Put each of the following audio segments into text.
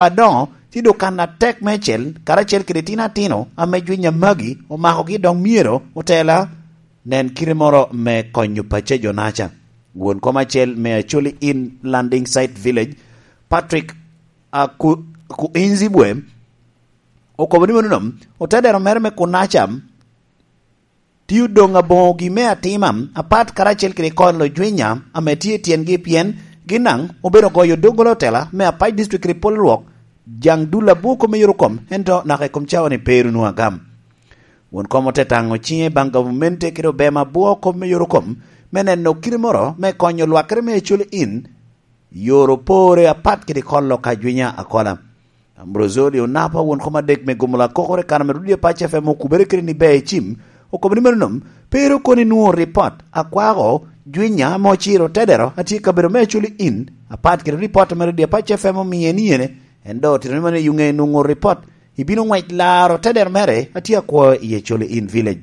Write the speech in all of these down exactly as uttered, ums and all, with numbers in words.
adoŋo tye dokan atek meicel, karacel kede itino atino ame jwiny a magi omakogi, dok myero otela nen kite moro me konyo pacci a jo Naca. Won kom acel me Acholi Inn Landing Site Village, Patrick Aku-, Kuinzibwe, okobo ni meno nom, otedero mere me Kunaca tio doŋ aboŋogi me atima apat karacel kede kolo jwinya ame tye i tyengi, pien gin daŋ obedo goyo doggola otela me Apac District kede pol rwok jaŋ dul abwo kom me yorokom, ento naka i kom cawa-ni pe ru nwoŋo agam. Won kom ote taŋo ciŋe baŋ gavumenti kede obema abwo kom me yorokom me neno kite moro me konyo lwakere me Acholi Inn yoro pore apat kede kolo ka jwinya akola. Ambrozoli Onapa, won kom adek me Gumula Kokore, kano me Rudi Apac F M okubere kede ni ber icim, okobo ni meno nom, pe ru kono inwoŋo ripot akwako jwinya ame ociro tedero atye i kabedo me Acholi Inn, apat kede ripot ame Rudi Apac F M omiye ni yene, en dok otito ni mano i ŋe nwoŋo ripot, ibino ŋwec laro tedero mere atye akwo i Acholi Inn Village.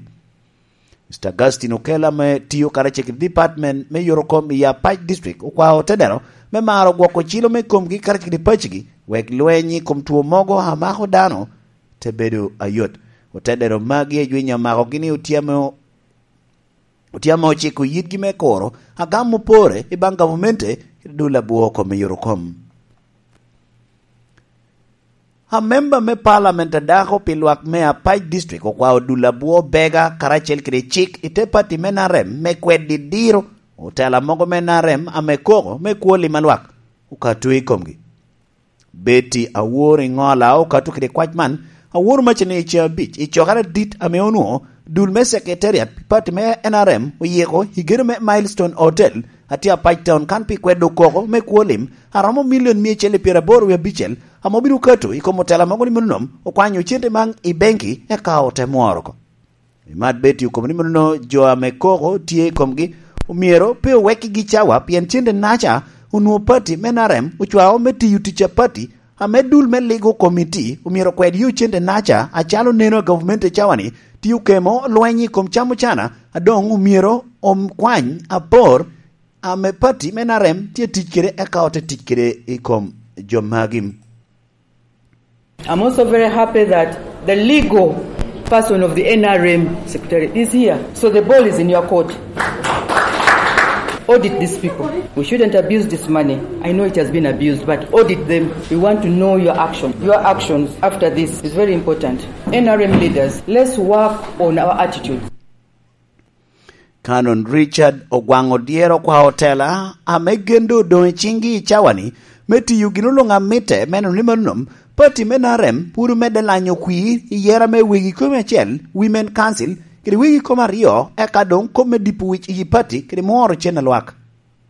Mister Augustine Okello ame tio karacel kede department me yorokom i Apac District okwao otedero me maro gwoko cilo me komgi karacel kede pacigi, wek lweny i kom two mogo a mako dano te bedo ayot. Otedero magi a jwiny amakogi ni otyamo, otyamo ociko yitgi me kuro agam opore i baŋ gavumenti kede dul abwo kom me yorokom. Amemba me Parliament a dako pi lwak me Apac District okwao dul abwo bega karacel kede cik i te pati me N R M me kwed didiro otela mogo me N R M ame koko me kwo lim a lwak okato i komgi. Betty Awor Iŋola okato kede kwac man, Awor Macani i caa abic i cokere adit ame onwoŋo dul me Secretariat pi pati me N R M oyiko i gedo me Milestone Hotel, atye Apac Town kan pi kwedo koko me kwo lim a romo milion mia acel i pyeraboro wie abicel, ame obino kato i kom otela mogo ni meno nom okwanyo cente maŋ i benki eka ote mworo oko. Imat Betty okobo ni meno jo ame koko tye i komgi omyero pe owekkigi cawa, pien cente naca onwoŋo pati me N R M ocwao me tiyo tic a pati, ame dul me ligo komiti omyero okwed yo cente naca acalo neno a gavumenti i cawa-ni tye okemo lweny i kom cam ocana, a doŋ omyero okwany apor ame pati me N R M tye tic kede eka ote tic kede i kom jo magi. I'm also very happy that the legal person of the N R M secretary is here. So the ball is in your court. Audit these people. We shouldn't abuse this money. I know it has been abused, but audit them. We want to know your action. Your actions after this is very important. N R M leaders, let's work on our attitude. Canon Richard Ogwaŋ Odyero okwa otela ame gen doŋ odoŋ i ciŋgi i cawani me tiyo gin oluŋ amitte me neno ni mano nom pati me N R M pwod omedde lanyo kwir i yera me wegi kome acel, Women Council, kede wegi kome aryo, eka doŋ kop me dipo wic i pati kede mworo cen a lwak.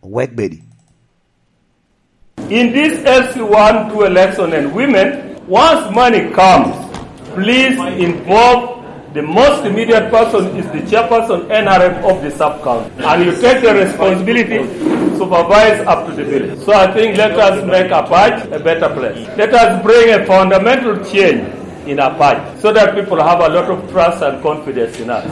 Owek bedi. In this L C one two election and women, once money comes, please involve the most immediate person is the chairperson N R M of the sub-county. And you take the responsibility to supervise up to the village. So I think let us make Apac a better place. Let us bring a fundamental change in Apac so that people have a lot of trust and confidence in us.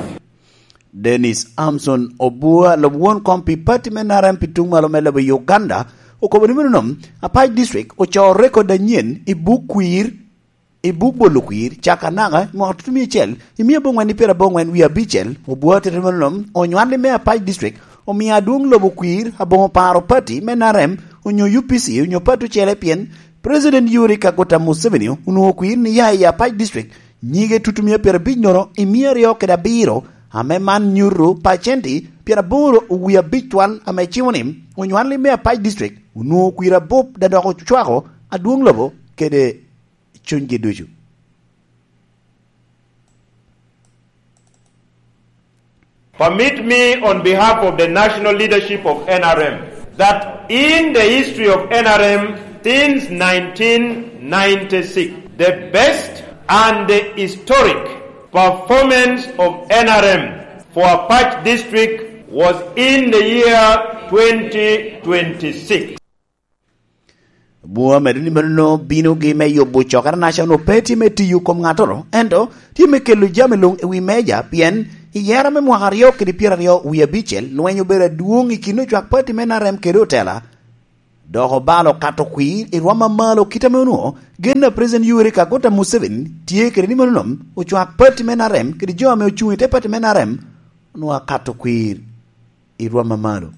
Dennis Amson Obua, lobo won kom pi pati me N R M pi tuŋ malo me lobo Uganda, okobo ni meno nom, Apac District ocoo rekod anyen i buk kwir, i buk bolo kwir, caka naka i mwaka tutumia acel, i mia abongwen i pyerabongwen wie abicel. Obua tito ni meno nom, onywali me Apac District omio adwoŋ lobo kwir aboŋo paro pati me N R M onyo U P C onyo pati ocele, pien President Yoweri Kaguta Museveni onwoŋo kwir ni ya i Apac District nyige tutumia pyerabic nono i mia aryo kede abiro, ame man nyuto pacenti pyeraboro wie abic twal ame cimo ni onywali me Apac District onwoŋo kwir abup da dok ocwako adwoŋ lobo kede cunygi ducu. Permit me, on behalf of the national leadership of N R M, that in the history of N R M since nineteen ninety-six, the best and the historic performance of N R M for Apac District was in the year twenty twenty-six. Bwoo medo ni meno binogi me yubo cokere naca onwoŋo pe tye me tiyo kom ŋattoro, ento tye me kelo jami luŋ i wi meja, pien i yera me mwaka aryo kede pyeraryo wie abicel, lweny obedo adwoŋ i kin ocwak pati me N R M kede otela Dok obalo kato kwir i rwom amalo kit ame onwoŋo gen a President Yoweri Kaguta Museveni tye kede ni mano nom ocwak pati me N R M kede jo ame ocuŋ i te pati me N R M onwoŋo akato kwir i rwom amalo.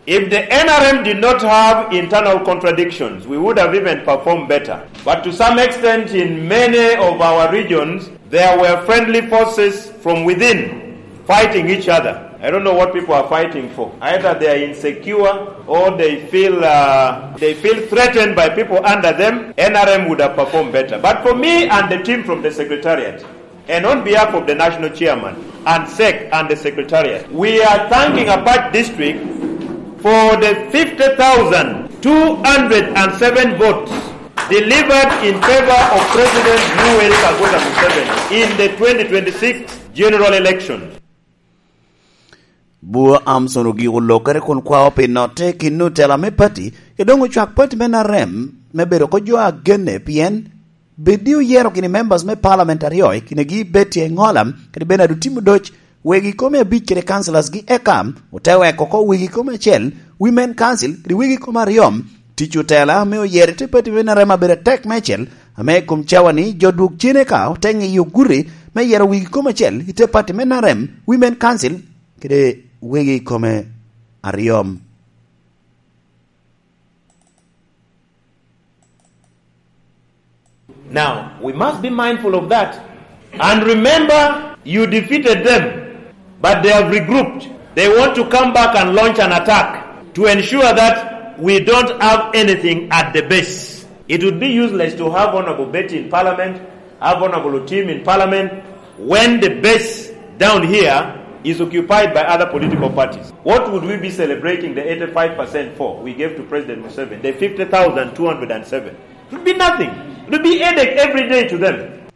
If the N R M did not have internal contradictions, we would have even performed better. But to some extent, in many of our regions, there were friendly forces from within fighting each other. I don't know what people are fighting for. Either they are insecure or they feel, uh, they feel threatened by people under them. N R M would have performed better. But for me and the team from the secretariat, and on behalf of the national chairman and sec and the secretariat, we are thanking Apac District for the fifty thousand two hundred and seven votes delivered in favor of President Yoweri Kaguta Museveni in the twenty twenty-six general election. Bwo Amson ogiko lokere kun kwao pi notte i kin otela me pati, ke doŋ ocwak pati me N R M me bedo oko jo agenne, pien bed ni oyero gini members me parliament aryo i kinegi Betty Engola kede Bernard Otim Odoc, wegi kome abic kede councillors gi eka ote weko oko wegi kome acel, women council kede wegi kome aryo. Tic otela me oyero i te pati me N R M abedo atek meicel, ame i kom cawa-ni jo dwog cene ka ote ŋiyo gudi me yero wegi kome acel i te pati me N R M, women council kede wegi kome aryo. Now, we must be mindful of that. And remember, you defeated them, but they have regrouped. They want to come back and launch an attack to ensure that we don't have anything at the base. It would be useless to have Honorable Betty in Parliament, have Honorable Otim in Parliament, when the base down here is occupied by other political parties. What would we be celebrating the eighty-five percent for we gave to President Museveni, the fifty thousand two hundred and seven? It would be nothing. It would be headache every day to them.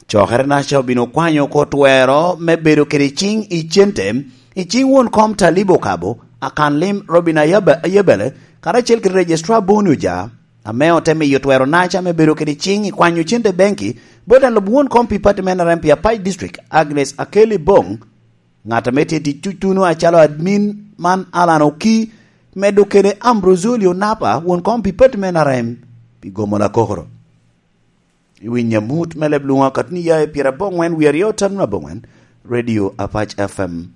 Cokere naca obino kwanyo oko twero me bedo kede ciŋ i cente i ciŋ won kom Talibo Kabo, akan lim Robin Ayabe-, Ayebele, karacel kede Registrar Boni Oja, ame ote miyo twero naca me bedo kede ciŋ i kwanyo cente benki bot alub won kom pi pati me N R M pi Apac District, Agnes Akeli Bong, ŋat ame tye tic tutuno acalo admin man Alan Oki, medo kede Ambrozoli Onapa, won kom pi pati me N R M pi gomo lakokoro. I wi nyamut me leb luŋa katni ya i pyera aboŋwen wie aryo tano aboŋwen, Radio Apac F M.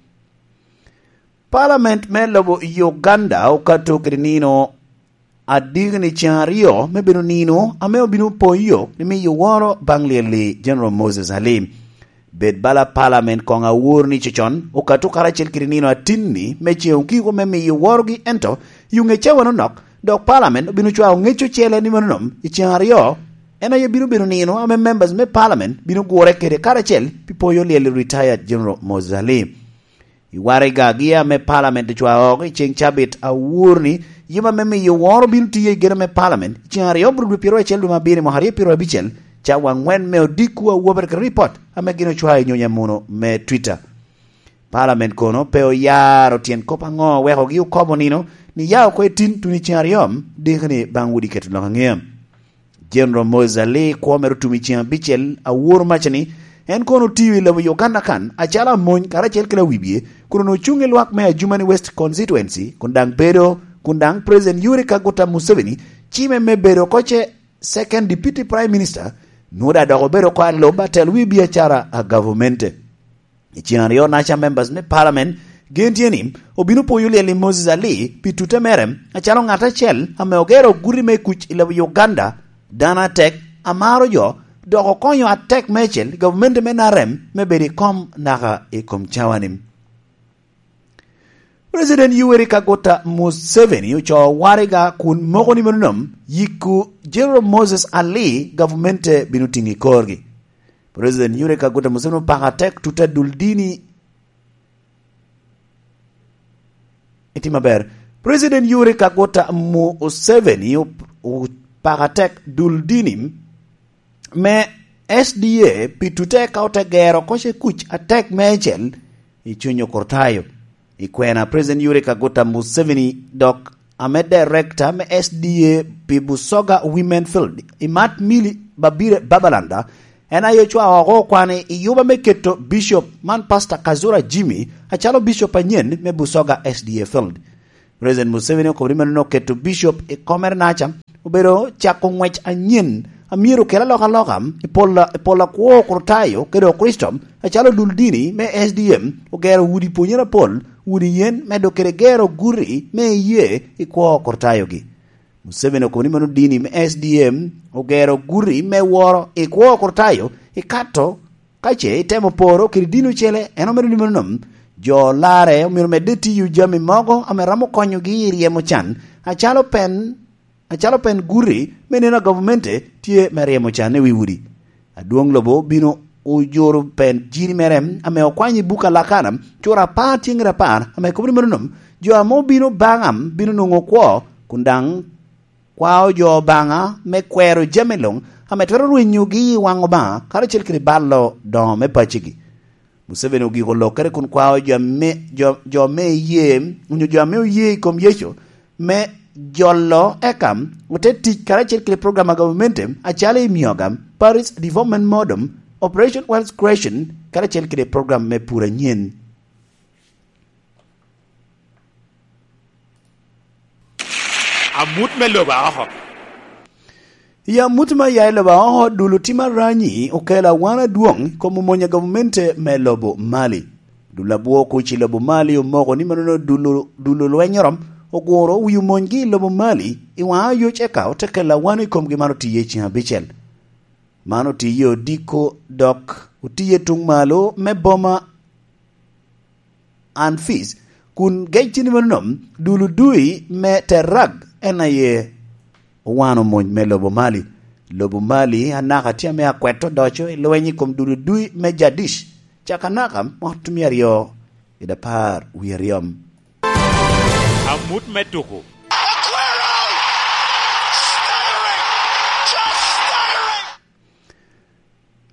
Parliament me lobo Uganda okato kede nino adiki ni ceŋ aryo me bedo nino ame obino poyo ni miyo woro baŋ lyel-li General Moses Ali. Bed bala Parliament koŋ awor ni cocon okato karacel kede nino atinni me ceŋ okiko me miyo worogi, ento i oŋe cawa nonok, dok Parliament obino cwao ŋec ocele ni mano nom i ceŋ aryo, en aye bino bedo nino ame members me Parliament bino gure kede karacel pi poyo lyel i retired General Moses Ali. I waraga gi ame Parliament ocwao oko i ceŋ cabit awor ni yub ame miyo woro bino tiyo i geno me Parliament i ceŋ aryo bro dwe pyeraryo acel dwe me abiro i mwaka aryo pyeraryo abicel, cawa aŋwen me odiko awobere kede ripot ame gin ocwao i nyonyo amuno me Twitter. Parliament kono pe oyaro tyen kop aŋo wekogi okobo nino ni ya oko i tin tuno i ceŋ aryo diki ni baŋ wudi keto lok aŋea. General Moses Ali kwo mere otum i ceŋ abicel awor maca ni en kono otio i lobo Uganda kan acalo amony karacel kede awibie, kun onwoŋo cuŋ i lwak me Adjumani West Constituency, kun daŋ bedo, kun daŋ President Yoweri Kaguta Museveni cime me bedo oko ce Second Deputy Prime Minister, nwoŋo daŋ dok obedo oko alub atelo wi biacara a gavamente. I ceŋ aryo naca members me Parliament gen tye ni obino poyo lyel i Moses Ali pi tute mere acalo ŋat acel ame ogero guti me kuc i lobo Uganda, dano atek, amaro jo, dok okonyo atek meicel i gavumenti me N R M me bedo i kom naka i kom cawa-ni. President Yoweri Kaguta Museveni ocoo waraga kun moko ni mano nom yiko General Moses Ali gavumenti bino tiŋo i korgi. President Yoweri Kaguta Museveni opako atek tuta dul dini. Itimo maber. President Yoweri Kaguta Museveni op-, opako atek dul dini me S D A pi tute ka ote gero oko ce kuc atek meicel i cuny Okurtayo. I kwena, President Yoweri Kaguta Museveni dok ame Director me S D A pi Busoga Women Field, Imat Milly Babire Babalanda, en aye ocwao oko okwane i yuba me keto Bishop man Pastor Kazura Jimmy acalo Bishop anyen me Busoga S D A Field. President Museveni okobo ni meno oketo Bishop i komere naca, obedo cako ngwec anyen a myero okel alokaloka i pol, i pol akwo Okrutayo kede Okricito, acalo dul dini me S D M ogero udi pwonyere apol, udi yen, medo kede gero guti me iyee i kwo Okrutayogi. Museveni okobo ni meno dini me S D M ogero guti me woro i kwo Okrutayo, ikato ka ce itemo poro kede dini ocele, en omito ni meno nom. Jo larre omyero medde tiyo jami mogo ame romo konyogi i ryemo can, acalo pen, acalo pen guti me neno a gavumenti tye me ryemo can i wi udi. Adwoŋ lobo obino ojoro pen jiri mere ame okwanyo i buk a Lakana, cura apar tyeŋ kede apar, ame kobo ni meno nom, jo ame obino baŋa bino nwoŋo kwo, kun daŋ kwao jo Obaŋa me kwero jami luŋ ame twero rwenyogi i waŋ Obaŋa karacel kede balo doŋo me paccigi. Museveni ogiko lokere kun kwao jo ame, jo, jo me iyee, onyo jo ame oye i kom Yecu, me jolo eka ote tic karacel kede program a gavumenti acalo i Mioga, Parish Development Model, Operation Wealth Creation, karacel kede program me pur anyen. Amut me lobo aoko. I amut me aya i lobo aoko, dul otim aranyi okelo awan adwoŋ i kom omony a gavumenti me lobo Mali. Dul abwo kuc i lobo Mali omoko ni manono dul, dul olwenyoro oguro wi omonygi i lobo Mali i waŋ ayoc, eka ote kelo awan i komgi man otiye i ceŋ abicel. Man otiye odiko dok otiye tuŋ malo me boma Anfis, kun gec tye ni mano nom, dul odui me Terag en aye owano mony me lobo Mali. Lobo Mali anaka tye ame akwet odoco i lweny i kom dul odui me Jadish, caka anaka mwaka otum aryo kede apar wie aryo. Amut me tuko.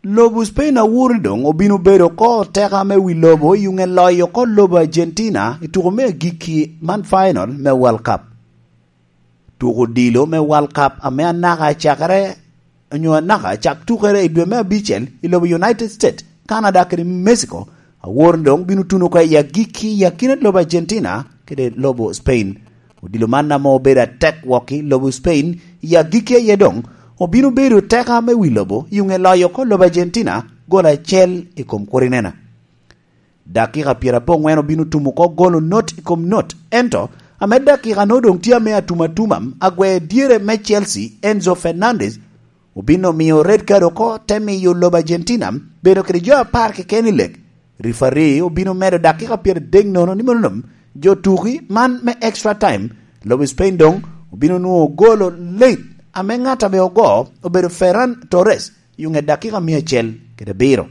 Lobo Spain awor ni doŋ obino bedo oko teka me wi lobo i yuŋe loyo oko lobo Argentina i tuko me agikki man, final me World Cup. Tuko odilo me World Cup ame anaka cakere, onyo anaka cak tukere i dwe me abicel i lobo United States, Canada kede Mexico, awor ni doŋ bino tuno oko i agikki i akina lobo Argentina kede lobo Spain. Odilo man ame obedo atek wok i lobo Spain i agikki aye doŋ obino bedo teka me wi lobo i yuŋe loyo oko lobo Argentina gol acel i kom kurinena. Dakika pyeraboŋwen obino tumo oko golo not i kom not, ento ame dakika no doŋ tye ame atum atuma, agwer dyere me Chelsea, Enzo Fernandez, obino miyo red card oko, te miyo lobo Argentina bedo kede jo apar keken i lek. Rifari obino medo dakika pyeradek nono ni mano nom, jo tuki man me extra time, lobo Spain doŋ obino nwoŋo golo late ame ŋat ame ogo obedo Ferran Torres i ŋet dakika mia acel kede abiro.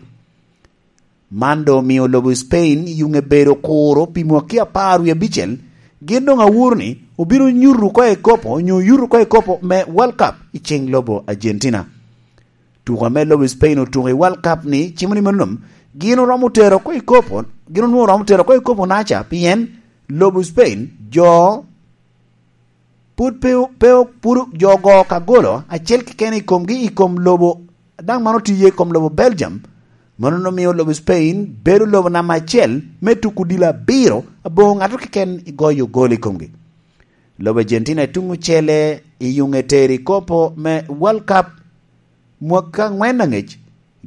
Man doŋ omio lobo Spain i yuŋe bedo kuro pi mwaki apar wie abicel. Gin doŋ aworo ni obino nyuto oko i kopo, onyo yuto oko i kopo me World Cup i ceŋ lobo Argentina. Tuko ame lobo Spain otuko i World Cup ni cimo ni mano nom, gin oromo tero oko i kopo, gin onwoŋo oromo tero oko i kopo naca, pien lobo Spain jo pud pe, pe, pud jo ogo ka golo acel keken i komgi i kom lobo, daŋ man otiye i kom lobo Belgium. Mano omio lobo Spain bedo lobo namba acel me tuko odilo abiro aboŋo ŋato keken i goyo gol i komgi. Lobo Argentina i tuŋ ocele i yuŋe tero i kopo me World Cup mwaka aŋwen aŋec,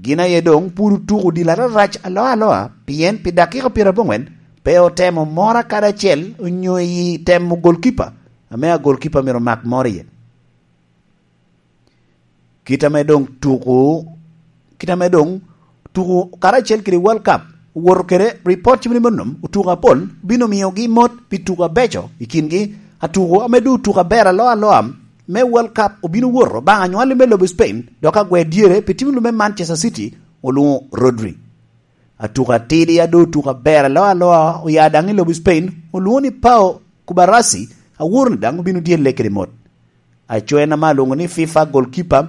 gin aye doŋ pwod otuko odilo ararac aloa aloa, pien pi dakika pyeraboŋwen pe otemo mora kadi acel onyo i temo golkipa, ame a golkipa myero omak moro iye. Kit ame doŋ tuko, kit ame doŋ tuko karacel kede World Cup owoto kede, ripot cimo ni mano, otuko apol bino miyogi mot pi tuko abeco i kingi. Atuko ame doŋ otuko aber aloa aloa me World Cup obino woto baŋ anywalli me lobo Spain, dok agwer dyere pi tim lume Manchester City, olwoŋo Rodri. Atuko atidi a doŋ otuko aber aloa aloa oya daŋ i lobo Spain, olwoŋo ni Pau Kubarasi, aworo ni daŋ obino dyelle kede mot. Aco en ame alwoŋo ni FIFA goalkeeper,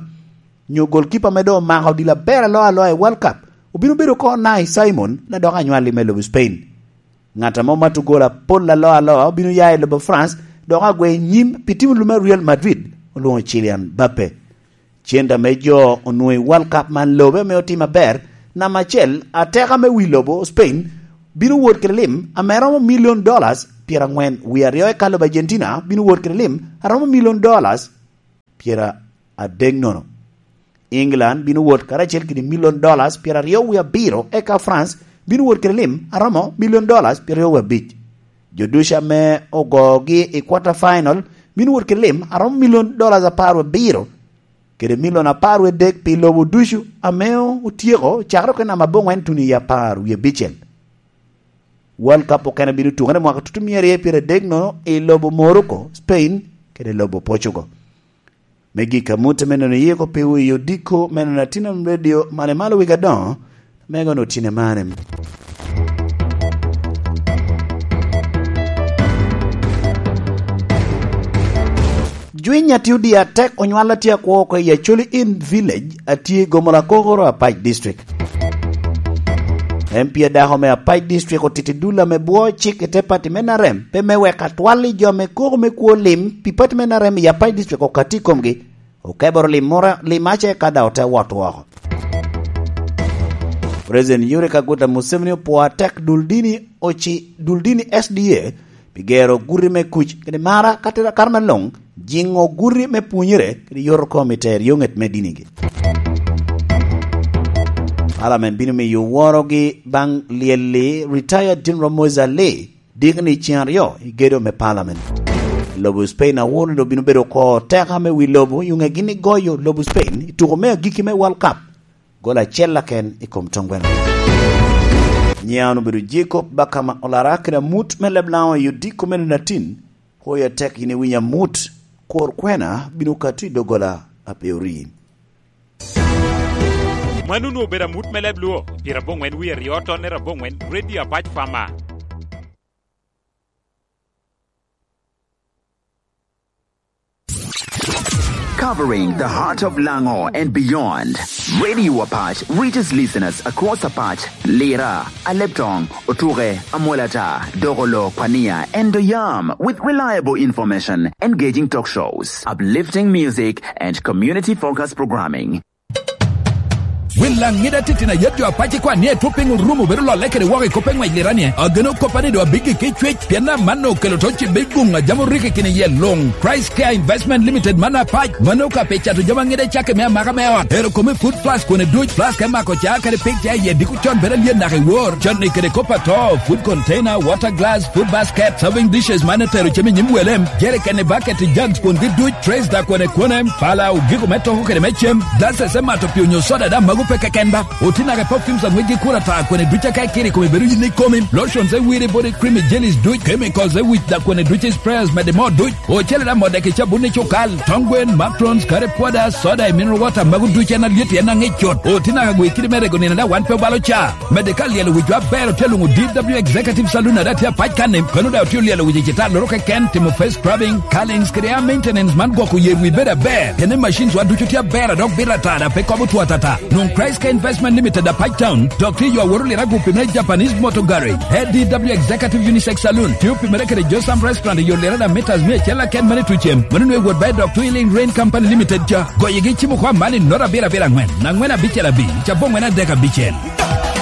nyo goalkeeper ame doŋ omako odilo aber aloa aloa i World Cup, obino bedo oko Unai Simon, ladok anywalli me lobo Spain. Ŋat ame omato gol apol aloa aloa obino ya i lobo France, dok agwe nyim pi tim lume Real Madrid, olwoŋo Kylian Mbappe. Cente ame jo onwoŋo i World Cup man lobe ame otim aber, namba acel, ateka me wi lobo Spain bino wot kede lim ame romo million dollars pyeraŋwen wie aryo, eka lobo Argentina bino wot kede lim a romo milion dollars pyeradek nono. England bino wot karacel kede milion dollars pyeraryo wie abiro, eka France bino wot kede lim a romo milion dollars pyeraryo wie abic. Jo ducu ame ogogi i quarter final bino wot kede lim a romo milion dollars apar wie abiro, kede milion apar wie adek pi lobo ducu ame otyeko cakere oko i namba aboŋwen tuno i apar wie abicel. World Cup okene bino tukere mwaka tutu mia aryo pyeradek nono i lobo Morocco, Spain, kede lobo Portugal. Me gik amut me nono yiko piwu i odiko me nono Atin Am Radio, malo malo wigi adoŋo, me gono otine mane. Jwiny a tye odi atek onywalo a tye akwo oko i Acholi Inn Village a tye i Gomola Kokoro, Apac District. M P adako me Apac District otito dul ame bwo cik i te pati me N R M, pe me wek atwal i jo ame koko me kwo lim pi pati me N R M i Apac District okatti i komgi, okeboro lim moro, lim ace ka daŋ ote wot woko. President Yoweri Kaguta Museveni opwoo atek dul dini oci, dul dini S D A pi gero guti me kuc kede mara, ka tera kare me luŋ, jiŋo guti me pwonyere kede yoto kom i tero yo ŋet me dinigi. Parliament bino miyo worogi baŋ lyel-li, retired General Moses Ali, dikni ceŋ aryo i gedo me Parliament. Lobo Spain awor ni doŋ bino bedo oko teka me wi lobo i oŋegi ni goyo lobo Spain i tuko me agikki me World Cup gol acel aken i kom tongweno. Nyiŋa onwoŋo obedo Jacob Bakama Olara, kede amut me leb Laŋo i odiko me nino atin, hoyo atek yin iwinyo amut, kor kwena bino kato i doggola a pe orii. Mano onwoŋo obedo amut me leb Luo, pyeraboŋwen wie aryo tonne raboŋwen, Radio Apac Farmer. Covering the heart of Lango and beyond, Radio Apac reaches listeners across Apac, Lira, Aleptong, Otuke, Amolata, Dogolo, Pania, and Doyam with reliable information, engaging talk shows, uplifting music, and community-focused programming. Wil Laŋ ŋida titino ayet jo Apac ikwan ni etwo piny orumo bedo lolle kede woko i kop me ŋwec Lira ni, ageno koppa ni doŋ abiggi ki cwec, pien amanno okelo to cibbe guŋ a jami oriko i kin iye luŋ. Christ Care Investment Limited man Apac, mano ka pi cato jami aŋida i cakki me amaka me ot, ero kome food plus kwone duc, plus ka imako ca kadi pik ca iye diko con bedo alyet naka i wor, cotni kede kop ato, food container, water glass, food basket, serving dishes man etero cem i nyim wele, jerikeni, bucket, jugs kwongi duc, trays da kwone kwone, pala, ogiko me toko kede me cem, glasses me mato pii onyo soda daŋ mago pe keken ba. Oti naka perfumes a ŋwecgi kuro ata kwene duc aka ikiro i kome bedo yin ikomi, lotions e wiri, body cream, jellies duc, chemicals e wic da kwene duc, sprayers mede moo duc, ocele da modde ki cabun i cukal, tong gwen, macrons, curry powder, soda i mineral water mago duc en alyet en aŋic cut. Oti naka gwe kidi me rego nino da wan pe obalo ca. Mede ka lyelo wic aber otye luŋo D W Executive Saloon a daŋ tye Apac kan-ni, kono daŋ otye olyelo wic i citar loro keken, timo face scrubbing, curlings kede hair maintenance man gwoko yer wi bedo aber. Kene machines wa ducu tye aber a dok bito ata daŋ pe kobo two atata. Nwoŋ Christ Care Investment Limited Apac Town, dok tye yo aworo Lira gupi me Japanese Motor Garage, A D W Executive Unisex Saloon, tye opimere kede Josam Restaurant i yo Lira daŋ meters mia acel aken mane tucem, mano nwe wot ba i dok Twilling Rain Company Limited ca. Goyigi cimo kwa mani noto abiro abiro aŋwen, aŋwen abicel abic, cabo ŋwen adek abicel.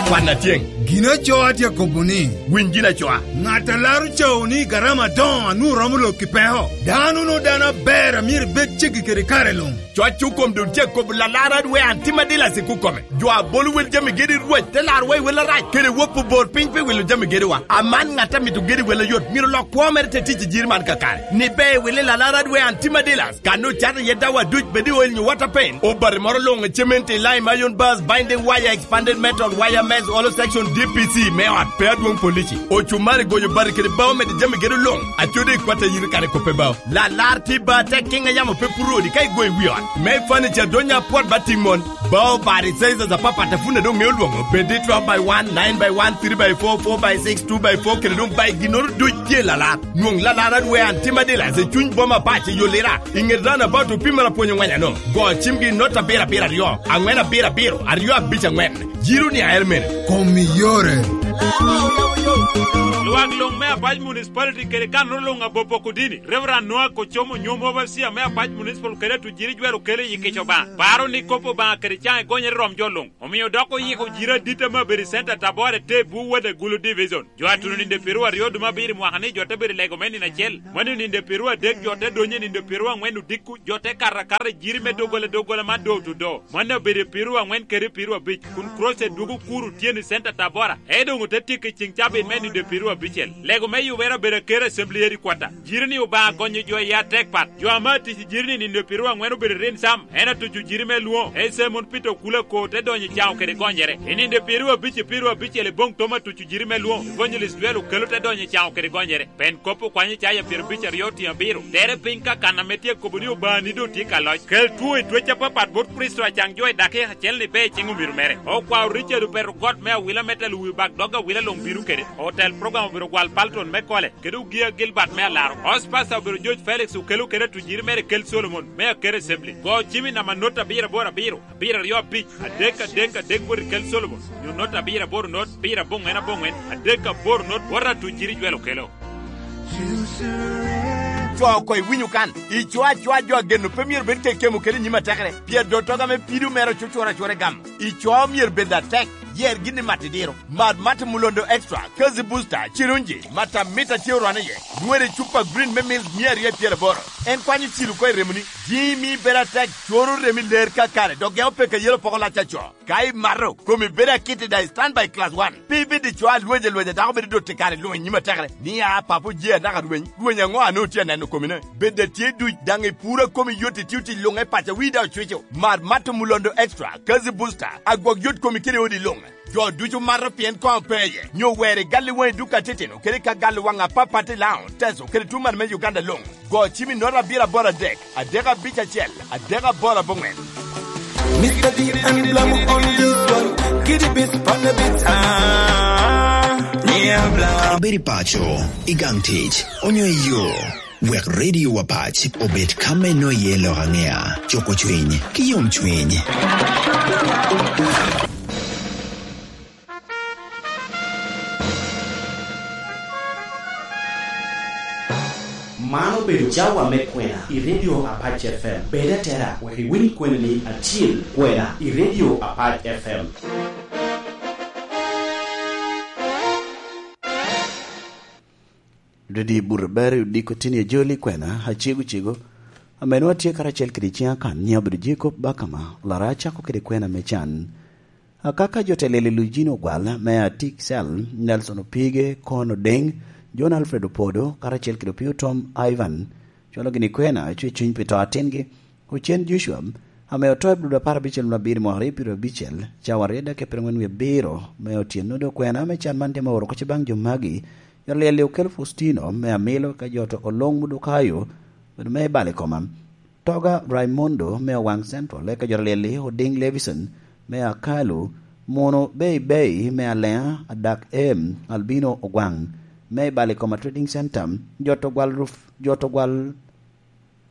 Kwan atyeŋ. Gin acoo atye akobo ni, winy gin acoa. Ŋat a laro cawo ni garama adoŋo a nwoŋo romo lok i peko. Dano no dano aber a myero ibed ceggi kede kare luŋ. Cwac okom doŋ tye akobo lalar adwe an tim adila sik okome. Jo a bolo wel jami gedi Rwec te laro wa i wel arac, kede wop obor piny pi wilo jami gediwa. Aman ŋat a mito gedi wel ayot, myero lok kwo mere te tic i jiri man kakare. Ni be wili lalar adwe an tim adila. Kan ocato iye dawa duc bed i oil nyo water paint, obati moro luŋ i cement i lime, iron bars, binding wire, expanded metal, wire mesh, hollow section, D P C me ot, pe adwoŋ polici. Ocumari goyo bati kede bao mede jami gedo luŋ, acode i kwat a yiri kare kope bao. Lalar tye ba tek kiŋ a yamo pe puro odi ka igoyo i wi ot. Me furniture donya apwot ba tiŋ mon. Bao bati sizes apapat a pwod doŋ ŋeo lwoŋo, bed i twelve by one, nine by one, three by four, four by six, two by four, kede doŋ by ginnoro duc tye lalar. Nwoŋ lalar adwe an tim adila i cuny boma Apac i yo Lira, i ŋet roundabout opimere apwony oŋweny ano. Go cimgi i not abiro abiro aryo, aŋwen abiro abiro, aryo abic aŋwen. Jiro ni aer mene. Kom iyore. Lwak luŋ me Apac Municipality kede kannono luŋ abopo Kudini, Reverend Noah Kocomo, nyom overseer me Apac Municipal kede atujiri jwero kelo i kico Obaŋa. Paro ni kop Obaŋa kede caŋ egonyere rom jo luŋ. Omio dok oyiko jiro adit ame obedo i Center Tabora te bwu wode Gulu Division. Jo a tuno ninde piru aryo duma abiro i mwaka ni jo te bedo i lego me nino acel. Mano ninde piru adek jo te donyo i ninde piru angwen odiko, jo te kato akata i jiri me doggola doggola man door to door. Mano obedo i piru angwen kede piru abic, kun Crusade dwogo kuro tyen i Center Tabora. Ee doŋ ote tyeko i ceŋ cabit me ninde piru abicel. Lego me yubere obedo aker Assembly Headquarter. Jiri ni Obaŋa gonyo jo i atek pat. Jo ame atic i jiri ni ninde piru angwen obedo rin sam. En atuco jiri me lwoŋo. Ee Simon Peter Okula ko te donyo i caŋo kede gonyere. I ninde piru abic i piru abicel i boŋ tom atuco jiri me lwoŋo. Evangelist Joel Okelo te donyo i caŋo kede gonyere. Pen kop okwanyo caya pyero abic aryo otiŋ abiro. Tere piny ka kan ame tye kobo ni Obaŋa ni doŋ tye ka loc. Kel two i twec apapat bot Kricito acaŋ jo i dakika acel ni be i ciŋ omiro mere. Okwao Richard Opeto got me awila me telo wi bak dog awila luŋ bino kede. Otel program obedo gwal Palton me Kole, kede Ogia Gilbert me Alaro. House pastor obedo George Felix Okelo kede atujiri mere Kel Solomon me Aker Assembly. Go cimi namba not abiro aboro abiro, abiro aryo abic, adek adek adek bot i Kel Solomon. Nyo not abiro aboro not, pira aboŋwen aboŋwen, adek aboro not, bot atujiri Jwel Okelo. Co ko iwinyo kan, ico acoa jo ageno pe myero bed kekemo kede i nyim atekere, pien dottoga me pido mere ocucura acura i gam. Ico myero bed atek, yer gin i mat idiro. Mad Mate Mulondo Extra, Kazi Booster, Cirunji, mata mita tye orwane iye. Nywere i cupa green me mil mia aryo i pyeraboro. En kwanyo cilo oko i remoni. Jimi bedo atek, coro remi ler kakare, dok geko peke yelo poko lac aco. Ka imato, komi bedo akit i daŋ i standby class one. Pe ibed i co alweny alwenya dako bedo dot i kare luŋ i nyim atekere. Ni a papo je anaka rweny, rweny aŋo a nwoŋo tye aneno komine? Bed a tye duc daŋ i puro a komi yot i tio tic luŋ e paca wi daŋ ocwico. Mar Mato Mulondo Extra, Kazi Booster, agwok yot komi kede odi luŋ. Jo ducu mato pien koŋ pe iye, nyo wer i gal i waŋ i duka atitino kede ka gal i waŋ apapat i Laŋo, Teso kede tuŋ man me Uganda luŋ. Go cim i nota abiro aboro adek, adek abic acel, adek aboro aboŋwen. Mister D and Lam on this one. Kitty Beats on the beat. Ah, yeah, Blam. Ibedo i paco, i gang tic, onyo i yo. Wek Radio Apac obed ka me nwoŋo iye lok aŋea, cuko cwiny, ki yomcwiny. Man obedo cawa me kwena i Radio Apac F M. Bed atera, wek iwiny kwena ni atyel kwena i Radio Apac F M. Dwedi buto ber i odiko tin i ajoli kwena, acego cego. Ame nwoŋo atye karacel kede ciŋa kan, nyiŋa obedo Jacob Bakama, olara acako kede kwena me can. Akaka jo te lelo i Lujino Ogwal, me Atik Cell, Nelson Opige, Kon Odeng, John Alfred Opodo, karacel kede Opio Tom Ivan, cwalo gini kwena, cwe cuny pi to atingi, Ocen Joshua, ame oto i Abdul apar abicel nwoŋo abiro mwaka aryo pyerabicel, cawa aryo dek pyerangwen wie abiro, me otyeno do kwena, me can man tye ma oro kocci baŋ jo magi, jo lyel-li okel Faustino, me Amilo, ka jo to Olong Mudukayo, obedo me i bal i koma. Toga Raimundo, me Owaŋ Central, eka jo lyel-li Oding Levison, me Akalu, Muno Bei Bei, me Aleŋa, Adak Em, Albino Ogwaŋ, me i bal i koma Trading Center, jo to gwal ruf, jo to gwal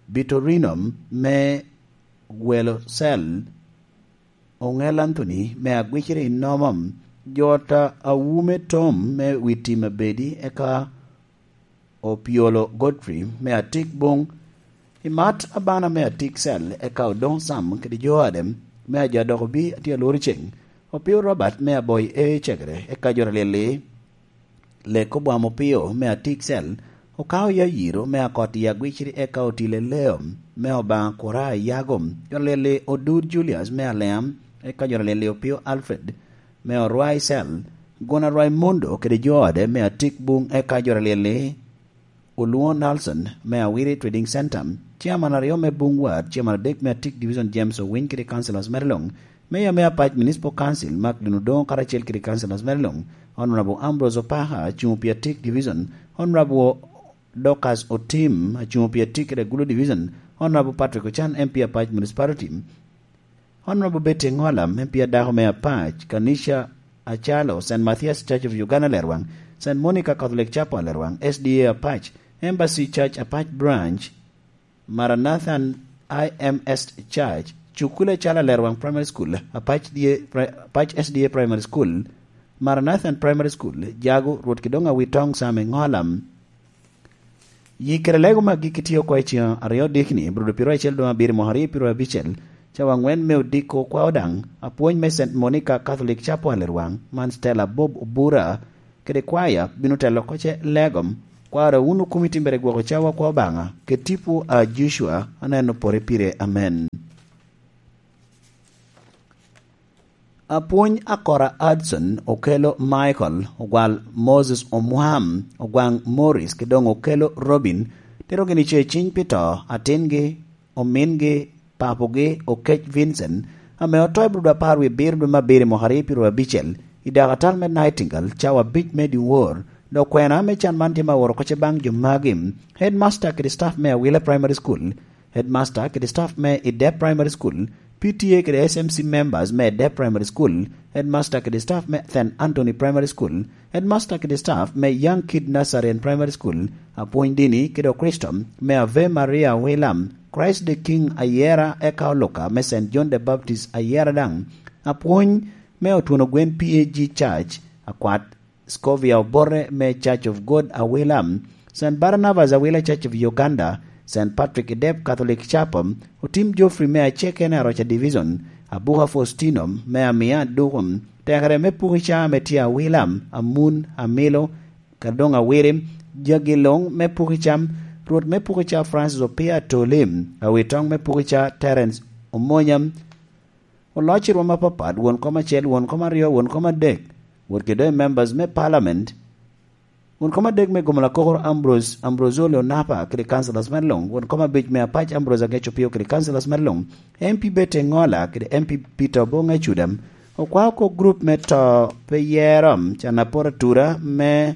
Bitorino me Gwelo Cell, Oŋel Anthony me Agwiciri Nomo, Jota Awume Tom me Witi Mabedi, eka Opiolo Godfrey me Atik Buŋ, Imat Abana me Atik Cell, eka Odoŋ Sam kede jo ade me Ajo Adok Obi atye alworo ceŋ, Opio Robert me Aboi E Cegere, eka jo Lyelli. Lek Obwam Opio me Atik Cell, Okao Yayiro me Akot i Agwiciri, eka Otile Leo me Obaŋa Kura Yago, jo Lyelli Odur Julius me Aleam, eka jo Lyelli Opio Alfred me Orwai Cell, Guna Raimundo kede jo ode me Atik Buŋ, eka jo Lyelli Olwoŋo Nelson me Awiri Trading Center, Chairman aryo me Buŋ Ward, Chairman adek me Atik Division James Owiny kede Councilors mere luŋ, Mayor me Apac Municipal Council Mark Lin Odoŋo karacel kede Councilors mere luŋ, Honorable Ambrose Opaha, acuŋ pi Atik Division, Honorable Dorcas Otim, acuŋ pi Atik kede Gulu Division, Honorable Patrick Ochan, M P Apac Municipality, Honorable Betty Ŋola, M P adako me Apac, Kanisha Acalo, Saint Matthias Church of Uganda Lerwaŋ, Saint Monica Catholic Chapel Lerwaŋ, S D A Apac, Embassy Church Apac Branch, Maranathan I M S Church, Cukul Acalo Lerwaŋ Primary School, Apac D A Pri-, Apac S D A Primary School, Maranathan Primary School, Jago, Rwot Kidongo Awitong Sam Eŋola. Yi kede lego magi kitio oko i ceŋ aryo dikni, Brudo piro acel dwe abiro mwaka aryo piro abicel, cawa angwen me odiko kwao daŋ, apwony me Saint Monica Catholic Chapel i Rwang, man Stella Bob Obura, kede kwaya bino telo oko ce lego. Kwara wun okumi timbere gwoko cawa kwa Obaŋa, kede tipo a Joshua, aneno pore pire. Amen. Apwony Akora Hudson okelo Michael, ogwal Moses Omwam, ogwaŋ Morris, ki doŋ okelo Robin, tero gini ce ciny pi to, atingi, omingi, papogi, Okec Vincent, ame oto i Brudo apar wie abiro dwe me abiro i mwaka aryo piro abicel, i dakatal me Nightingale, cawa abic me dyewor, dok kwena me can man tye ma oro oko ce baŋ jo magi, Headmaster kede staff me Awila Primary School, Headmaster kede staff me Idep Primary School, P T A kede S M C members me Idep Primary School, Headmaster kede staff me Saint Anthony Primary School, Headmaster kede staff me Young Kid Nursery and Primary School, apwony dini kede Okristo me Ave Maria Awila, Christ the King Ayera eka oluka me Saint John the Baptist Ayera daŋ, apwony me Otwono Gwen P A G Church, akwat Scovia Obote me Church of God Awila, Saint Barnabas Awila Church of Uganda, Saint Patrick Idep Catholic Chapel, Otim Geoffrey me Acekene Aroca Division, Abuka Faustino me Amia Dukum, tekere me Pukica ame tye Awila, Amun, Amilo, Kadong Awiri, jagi luŋ me Pukica, Rwot me Pukica Francis Opia Atoli, Awitoŋ me Pukica Terence Omonya, Oloc i rwom apapat, won kom acel, won kom aryo, won kom adek, wot kede doŋ i members me parliament, won kom adek me gomo lakokoro Ambrose, Ambrose Ole Onapa kede councillors me luŋ, won kom abic me Apac Ambrose Ageco Pio kede councillors me luŋ, M P Betty Eŋola kede M P Peter Oboŋ Ecuda, okwao oko group me to pe yero, can apor atura me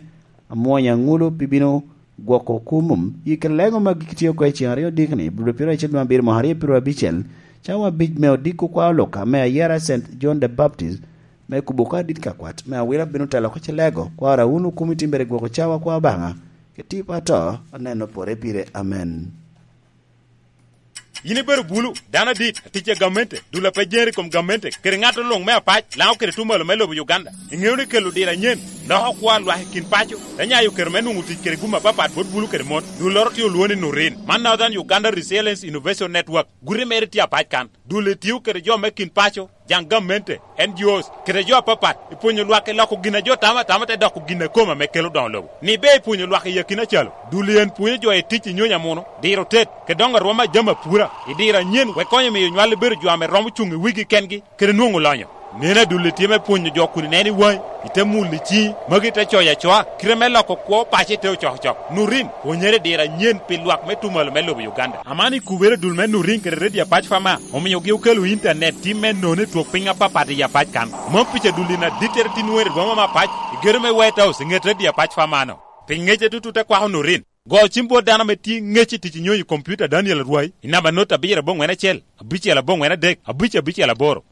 Amwony Aŋulu pi bino gwoko kumum. Yi kede lego magi kitio oko i ceŋ aryo dikni, Brudo piro acel dwe abiro mwaka aryo piro abicel, cawa abic me odiko kwa oluka me ayera Saint John the Baptist, me kubo ka dit ka kwat, me Awila bino telo oko ce lego, kwara wun okumi timbere gwoko cawa kwa Obaŋa, kede tipo ato, aneno pore pire. Amen. Yin ibedo bulu, dano adit, atic a gamente, dul a pe jer i kom gamente, kede ŋat oluŋ me Apac, Laŋo kede Tumalo me lobo Uganda. Iŋeo ni kelo diro anyen loko kwo a lwak i kin paco, te nyayo kero me nwoŋo tic kede gum apapat bot bulu kede mon. Dulloro tye olwoŋo ni Nurin. Man Northern Uganda Resilience Innovation Network. Guti mere tye Apac kan. Dul-li tio kede jo me kin paco, jaŋ gamente, N G Os, kede jo apapat, i pwonyo lwak i loko gin a jo tamo atama te doko gin a kome ame kelo doŋo lobo. Ni ber i pwonyo lwak i akina calo, dul-li en pwonyo jo i tic i nyonyo amuno, diro tet, kede doŋo arwom a jami apura, i diro anyen wek konyo miyo nywal-li bedo jo ame romo cuŋ i wigi kengi, kede nwoŋo lonyo. Neno adul-li tye me pwonyo jo kun ineno i waŋi, ite mulo i ciŋi, magi te coyo acoa, kite me loko kwo paco ite ocokocok. Nurin, pwonyere i diro anyen pi lwak me Tumalo me lobo Uganda. Aman ikubere dul me Nurin kede Redio Apac Fama, omiogi okelo intanet tim me nono i twok piny apapat i Apac kan. Mom pica dul-li na dittere tin nwoŋere i boma me Apac, i gedo me White House, i ŋet Redio Apac Fama-no. Pi ŋecce tutu te kwako Nurin. Go cim bot dano ame tye ŋec i tic i nyonyo i kompiuta Daniel Arwai i namba not abiro aboŋwen acel, abicel aboŋwen adek, abic abicel aboro.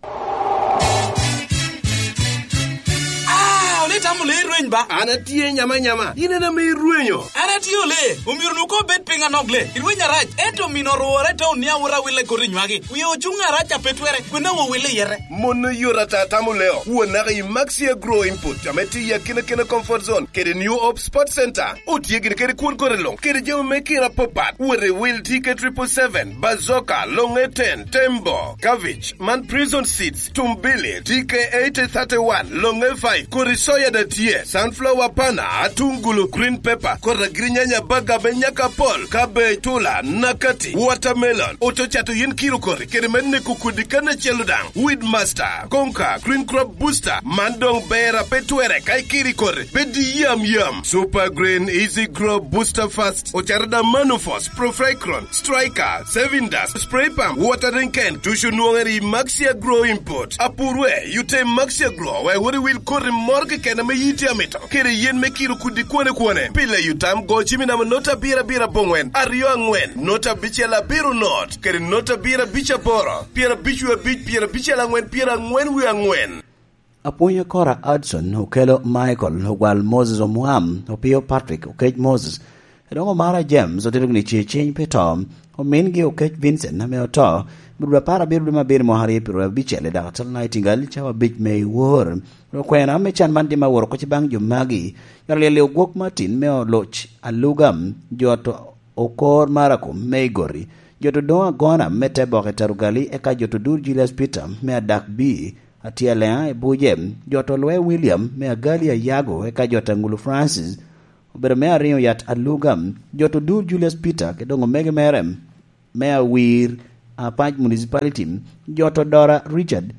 Ah, ole itamo le irweny ba? An atye nyama nyama, in en ame irwenyo. An atye ole, omyero nu ko bed piny anok le. Irweny arac, ento mino orwore te oniawo rawil e koti nywagi. Wie ocuŋ arac a pe twere, kwena wo wille yete. Mon oyot ata tamo leo, won naka i Maxi Agro Input, ame tye i akina kina comfort zone, kede New Hope Sports Center. Otye gire kede kwon kore luŋ, kede jami me kira apapat. Wot i wil T K triple seven, Bazooka, Longe ten, Tembo, Cabbage, man Prison Seeds, Tumbili, T K eighty thirty-one, Longe five, kodi soya da tye, sunflower pana, atungulu, green pepper, kodi agirinyanya, baga me nyaka pol, cabbage, tula, nakati, watermelon. Oto cato yin kiro kori, kede me neko kodi kan acel daŋ. Weedmaster, Konka, Green Crop Booster, man doŋ ber a pe twere ka ikiri kore, bed i yam yam. Super Green Easy Grow Booster Fast, ocato da Manufos, Profecron, Striker, Saving Dust, Spray Pump, Watering Can, tucu nwoŋere i Maxia Grow Import. Apurwe, yute i Maxia Grow, wek wot iwil koti moro keken ame yiti amito, kede yen me kiro kudi kwone kwone. Pile yutam go cimi namo nota abiro abiro abongwen, aryo angwen, nota abicel abiro not, kede nota abiro abic aboro. Pyerabic wie abic, pyerabicel angwen, pyerangwen wie angwen. Apwony Akora Hudson okelo Michael, ogwal Moses Omwam, Opio Patrick, Okec Moses, Edoŋo Mara James, otito gini ce ciny pi to, Omingi Okec Vincent ame oto, i dwe apar abiro dwe me abiro mwaka aryo pyeraryo abicel i dakatal Nightingale, cawa abic me i wor. Okwena me can man dim aworo kocci baŋ jo magi. Jot olyel i Ogwok Martin me Oloc Aluga, jot Okor Marakom me Igoti, jot Odoŋo Agona me Teboke Tarugali, eka jot Odur Julius Peter me Adak B, Atyeleŋa i Buje, jot Olwe William me Agali Ayago, eka jot Aŋulu Francis obedo me Ariŋo Yat Aluga, jot Odur Julius Peter, ki doŋ omege mere me Awir Apac Municipality, jot Odora Richard,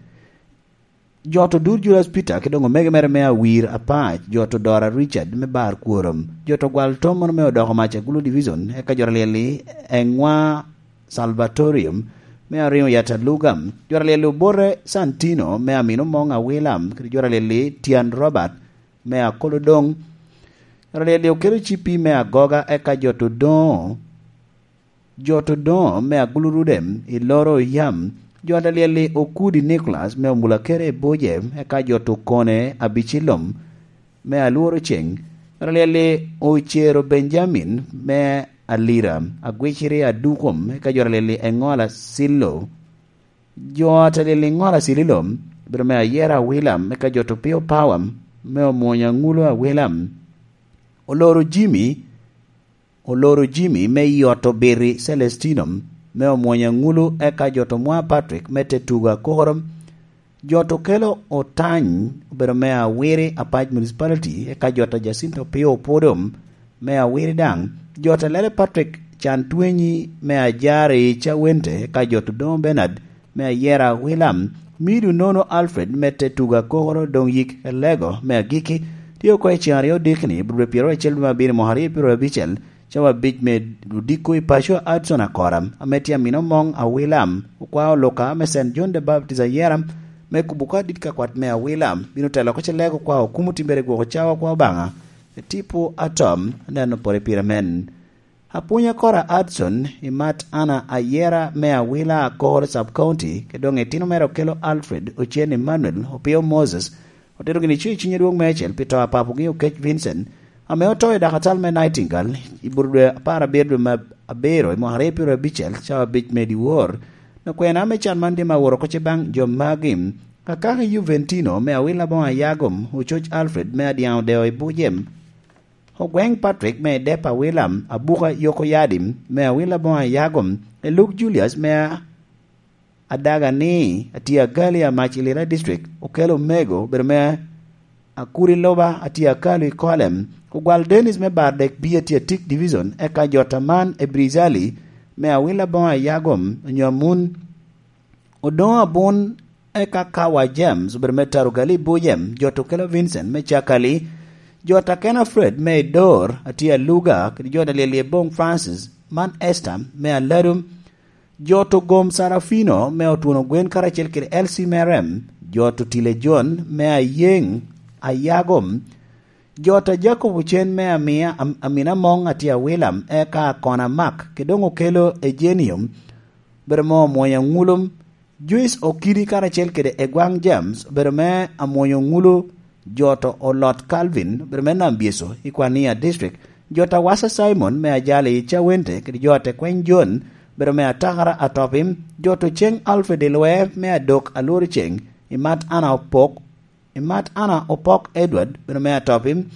jot Odur Julius Peter, ki doŋ omege mere me Awir Apac, jot Odora Richard me Bar Kworom, jot Ogwal Tom mono me Odoko Mac Agulu Division, eka jot olyel i Eŋwa Salvatorium me Ariŋo Yat Aluga, jot olyel i Obote Santino me Amino Moŋ Awila, kede jot olyel i Tyan Robert me Akolodoŋ, jot olyel i Okelo Cipi me Agoga, eka jot Odoŋo, jot Odoŋo me Agulu Rudem i Loro Oyam, jot olyel i Okudi Nicholas me Omulakere i Buje, eka jot Okone Abicilom me Alworo Ceŋ, jot olyel i Ocero Benjamin me Alira, Agwiciri Adukom, eka jot olyel i Eŋola Silo, jot olyel i Ŋola Sililom, obedo me Ayera Awilam, eka jot Opio Power me Omwonya Ŋulo Awilam, Oloro Jimmy, Oloro Jimmy me Yot Obiti Celestino me Omwonya Ŋulo, eka jot Omwa Patrick me Tetuga Koro, jot Okelo Otany obedo me Awiri Apac Municipality, eka jot Jacinto Opio Opodom me Awiri daŋ, jot Alele Patrick Can Twenyi me Ajari Cawente, eka jot Odoŋo Bernard me Ayera Awilam, Midu Nono Alfred me Tetuga Koro, doŋ yik Elego me Agiki, tye oko i ceŋ aryo dikni, i dwe pyeraryo acel dwe me abiro mwaka aryo pyeraryo abicel, cawa abic me odiko i paco Adson Akora, ame tye Amino Moŋ Awilam, okwao Luka me Saint John the Baptist Ayera, me kubo oko adit ka kwat me Awilam, bino telo oko Celego okwao kumo timbere gwoko cawa kwa Obaŋa, e tipo atom, aneno pore pire men. Apwony Akora Adson, i Mat Anna Ayera me Awila Akor Sub County, ke doŋ itino mere Okelo Alfred, Ocen Emmanuel, Opio Moses, otito gini cuŋ i cuny adwoŋ meicel pi to a papogi Okec Vincent, ame oto i dakatal me Nightingale, i bur dwe apar abiro dwe me abiro i mwaka aryo pyeraryo abicel, cawa abic me dyewor. Nakwena me can man dim aworo oko ce baŋ jo magi, Kakaki Juventino me Awila Boŋ Ayagom, Ococ Alfred me Adyaŋ Odeo i Bujem, Ogweŋ Patrick me Dep Awila, Abuka Yoko Yadi me Awila Boŋ Ayagom, Eluk Julius me Adaga ni, atye Agali Amac i Lira District, Okelo Omego, obedo me Akuri Loba, atye Akalu i Kolem, Ogwal Dennis me Bardek B, atye Atik Division, eka jot Aman Ebrizali me Awila Boŋ Ayagom, onyo Amun, Odoŋo Abun, eka Kawa James, obedo me Tarugali Bujem, jot Okelo Vincent me Cakali, jot Akena Fred me Idor, atye Aluga, kede jot Alyel Yeboŋ Francis, man Esther me Aladum, jot Ogom Sarafino me Otwono Gwen karacel kede L C Merem, jot Otile John me Ayeŋ Ayagom, jot a Jacob Ocen me Amia, Am-, Amina Moŋ atye Awilam, eka Akona Mak, kede doŋ Okelo Ejenium, obedo me Omwonya Ŋulum, Joyce Okidi karacel kede Egwaŋ James, obedo me Amwonya Ŋulu, jot Olot Calvin, obedo me Nambyeco i Kwania District, jot Awasa Simon me Ajali i Cawente, kede jot Ekweny John, obedo me Atakara Atopim, jot Oceng Alfred Ilwe me Adok Alworo Ceng i Mat Ana Opok, i Mat Ana Opok Edward, obedo me Atopim,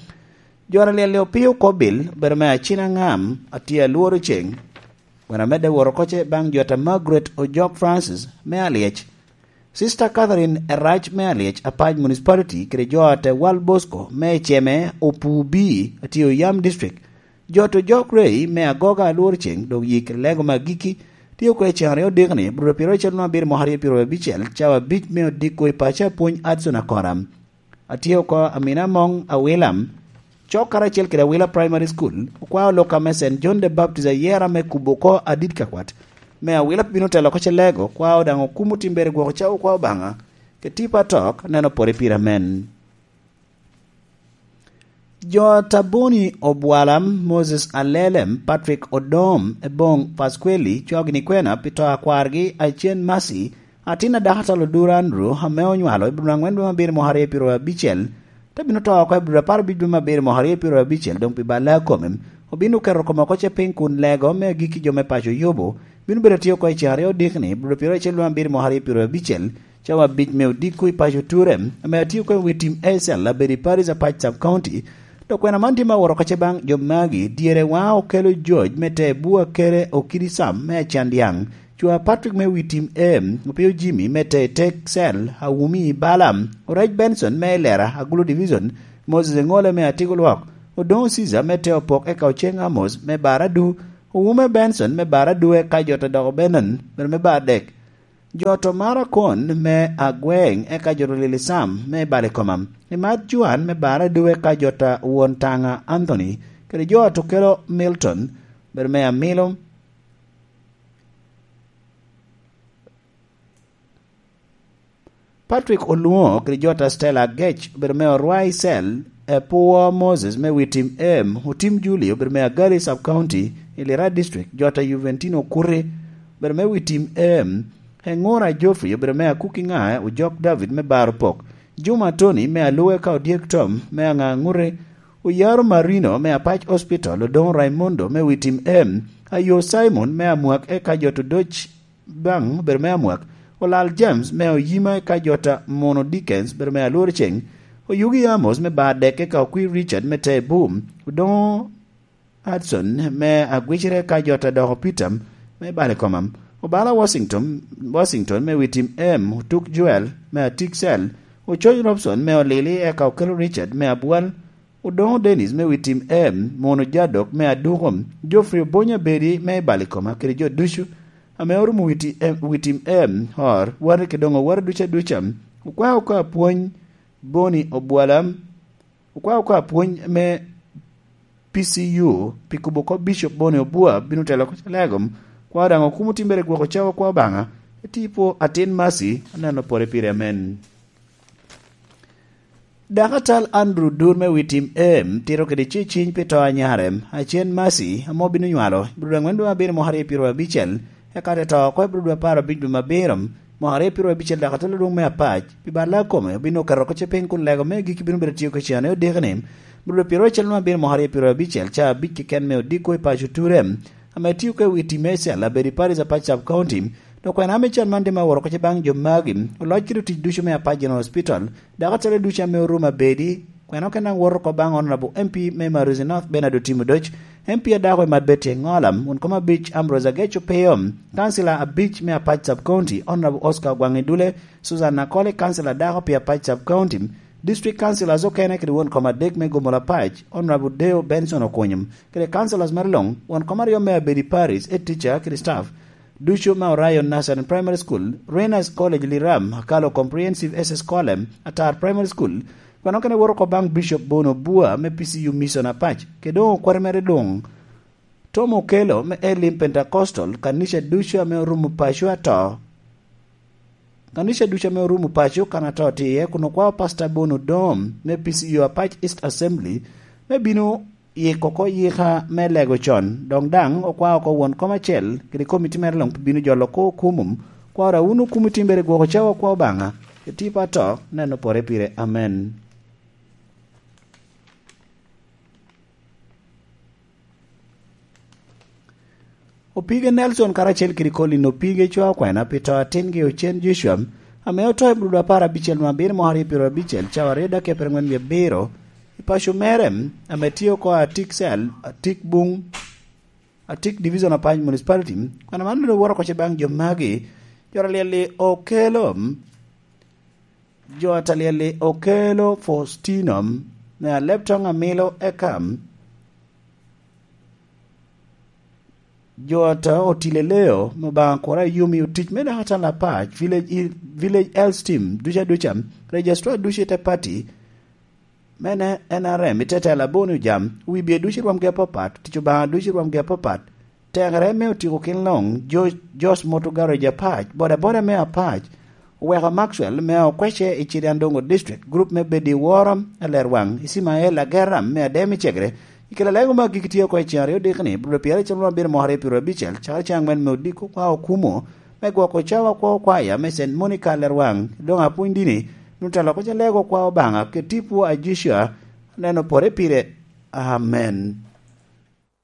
jot Alyel Opio Kobil, obedo me Acina Ŋam, atye Alworo Ceng. Wena medde woro oko ce baŋ jot a Margaret Ojok Francis me Alyec, Sister Catherine Erac me Alyec Apac Municipality, kede jot a Wal Bosco me Eceme Opu B, atye Oyam District, jot Ojok Rei me Agoga Alwor Ceng, dok yik Lego me Agiki, tye oko i ceŋ aryo dikni, bur pyeraryo acel nwa abiro mwaka aryo pyeraryo abicel, cawa abic me odiko i paco Apwony Adson Akora. Atye oko Amina Moŋ Awilam, cok karacel kede Awila Primary School, okwao lok ame Saint John the Baptist Ayera me kubo oko adit ka kwat. Me Awila bino telo oko Celego, okwao daŋ okumo timbere gwoko cawa okwao Obaŋa, ke tipo atok, neno pore pire amen. Jo Taboni Obwalam, Moses Alelem, Patrick Odom, Ebong Pasqueli, cogni kwena pi to a kwargi Acen Masi, atin a dakatal Odur Andrew, ame onywalo i bur angwen dwe me abiro mwaka aryo pyeraryo abicel, te bino to oko i bur apar abic dwe me abiro mwaka aryo pyeraryo abicel, doŋ pi balle a kome, obino keto kome oko ce piny kun Lego me Agiki jo me paco Yubu, Bino bedo atye oko i ceng aryo odikni, bro pyeraryo acel luŋ abiro mwaka aryo pyeraryo abicel, cawa abic me odiko i paco Ture, ame atye oko i wi tim A C L, abedo i Paris Apac Sub County. Dok kwena man tye me awot oko ce baŋ jo magi, dyere wa okelo George me te bua kere okidi Sam me acan dyaŋ, cwa Patrick me wi tim A, opio Jimmy me te tek cell, awumi i Balaam, orec Benson me Elera, Agulu Division, Moses Eŋole me Atigo Lwok, Odoŋo Caesar me te opok eka Oceng Amos me Baradu, Owume Benson me Baradu eka jo to doko Benon, bedo me Bardek. Jo to maro kon me Agweng eka jo to lili Sam me Balikoma. Imat Juan me Baradu eka jo to won Taŋa Anthony, kede jo to kelo Milton, bedo me Amilo. Patrick Olungo kede jota Stella Agec obedo me Orwai Cell, Epuwo Moses me Witim Em, Otim Julie obedo me Agali Sub County, Ilira District, jota Juventino Okuti obedo me Witim Em, Engura Geoffrey obedo me Akuki Ŋae, Ojok David me Baro Pok, Juma Tony me Aluwe ka Odyek Tom me Aŋa Ŋute, Oyaro Marino me Apac Hospital, Odoŋo Raimondo me Witim Em, Ayo Simon me Amwak eka jota Odoc baŋ obedo me Amwak, Olal James me Oyima eka jota Mono Dickens obedo me Alwor Ceng, Oyugi Amos me Bardek eka Okwir Richard me Tebu, Odoŋo Hudson me Agwicere eka jota doko Peter me Balikoma, Obala Washington, Washington me Witim Em, Otuk Joel me Atik Cell, Ococ Robson me Olili eka Okelo Richard me Abwal, Odoŋo Dennis me Witim Em, Mono Jadok me Aduko, Geoffrey Obonya Bedi me Balikoma kede jo ducu ame orumo Witi-, em, Witim Em, Hor, Wari kede doŋ Owari duca duca, okwao oko apwony Boni Obwala, okwao oko apwony me P C U pi kubo kop Bishop Boni Obua bino telo oko Calegom, kwao daŋ okumo timbere gwoko cawa kwa Obaŋa, etipo atin Mercy, aneno pore pire amen. Dakatal Andrew Dur me Witim Em tito kede ceciny pi to a nyare, Acen Mercy, ame obino nywalo i Abril aŋwen dwe me abiro mwaka aryo pyeraryo abicel, eka te to oko i Abril dwe apar abic dwe me abiro mwaka aryo pyeraryo abicel, dakatal adwoŋ me Apac, pi balla a kome, obino keto oko ce piny kun lego me agikki bino bedo tiyo kecen i odiko-ni, Abril dwe pyeraryo acel dwe me abiro mwaka aryo pyeraryo abicel, ca abic keken me odiko i paco Ture, ame tio ka i wi tim A C L, abedo i Paris Apac Sub County, dok kwena ame can man tye me awot oko ce baŋ jo magi, oloc kede otic ducu me Apac General Hospital, dakatal ducu ame orumo abedi, kwena okene daŋ woto oko baŋ Honorable M P me Maruzi North Bernard Otimo Odoc, M P adako i Mat Betty Engola, won kom abic Ambrose Agec Opio, kancila abic me Apac Sub County, Honorable Oscar Ogwaŋ Idule, Susan Akoli, kancila adako pi Apac Sub County, District Councillors okene kede won kom adek me Gomola Apac, Honorable Deo Benson Okunyum, kede councillors mere luŋ, won kom aryo me Abedi Parish, head teacher kede staff, ducu me Orion Nursery and Primary School, Renas College Liram, Akalo Comprehensive S S College, Atar Primary School, kwena okene woto oko baŋ Bishop Bono Bua me P C U Mission Apac, kede doŋ okwati mere luŋ. Tom Okello me Elim Pentecostal, kanica ducu ame orumo paco ato. Kanica ducu ame orumo paco kan ato tye iye, kun okwao Pastor Bono Dom me P C U Apac East Assembly me bino yiko oko yika me lego con. Dok daŋ okwao oko won kom acel kede komiti mere luŋ pi bino jolo oko okumum. Kwao ra wun okumiti mere gwoko cawa kwa Obaŋa, etipa ato, neno pore pire. Amen. Opige Nelson karacel kede Colin Opige cwa okwena pi to atingi Ocen Joshua, ame oto i Abril apar abicel nwa abiro mwaka aryo pyeraryo abicel, cawa aryo dakika pyerangwen wie abiro, i paco mere, ame tye oko Atik Cell, Atik Buŋ, Atik Division of Pine Municipality. Kwena man bino woto oko ce baŋ jo magi, jo alyel-li okelo, jo alyel-li okelo Faustino, me Alebtoŋ Amilo eka jo ata Otile Leo, me Obaŋa kura yumi otic me dakatal Apac, Village, Village Health Team, duca duca, Registrar ducu i te party, me N R M, i te tela Boni Ojam, wibye ducu i rwomgi apapat, tic Obaŋa ducu i rwomgi apapat, tekere me otiko kin luŋ, Jo-, Josh Moto Garage Apac, bodaboda me Apac, oweko Maxwell me Okwece i Ciriandongo District, group me Bedi Woro, Alerwaŋ, Ismael Ageram me Adem i Cegre, i kela lego me agikki tye oko i ceng aryo dikni, Abril pyeraryo acel nwa abiro mwaka aryo pyeraryo abicel, cakere ceng aŋwen me odiko kwa okumo, me gwoko cawa kwo kwaya me Saint Monica Alerwaŋ, doŋ apwony dini, nutalo oko ce lego kwa Obaŋa, kede tipo a Joshua, aneno pore pire. Amen.